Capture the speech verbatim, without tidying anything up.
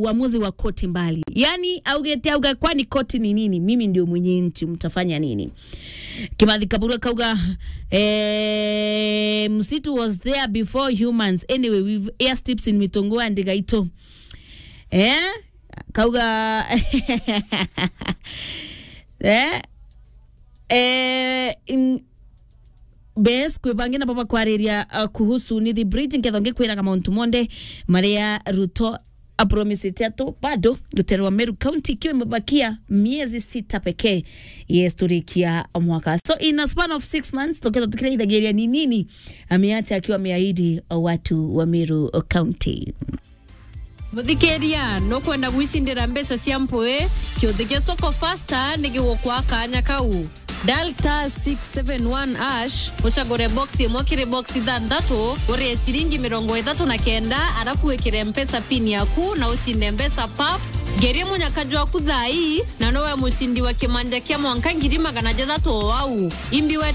uamuzi wa koti mbali. Yani augite, auga, kwani koti ni nini? Mimi ndio mwenye nchi, mtafanya nini? Kimathi Kaburu akauga, eh, msitu was there before humans. Anyway, we've airstrips in Mitongo and Gaito. Eh? Kauga, eh? Eh, in, Bes, kwi bangi nabo bakwariria, uh, kuhusu Nithi Bridge, nkethwa ngikwiraga mauntu monthe maria Ruto apromisite atu bado rutere rwa Meru County ikiwa imebakia miezi sita pekee, yes, turikia mwaka. So in a span of six months, tukethwa tukiraithagiria ni nini ameacha akiwa ameahidi watu wa Meru County. Muthikiria, nukwenda gwicindira mbeca cia mpui? Kiuthi gia Soko Fasta ni gigukwa kanya kau. Dial star six seven one hash, ucagure box imwe kiri box ithanthatu, urie ciringi mirongo ithatu na kenda, arafu wikire Mpesa pin yaku na ucinde mbeca pap. Ngerie munyaka jwaku thaa ii, na nowe mucindi wa kimanja kia mwanka ngiri magana jathatu o au. Imbi we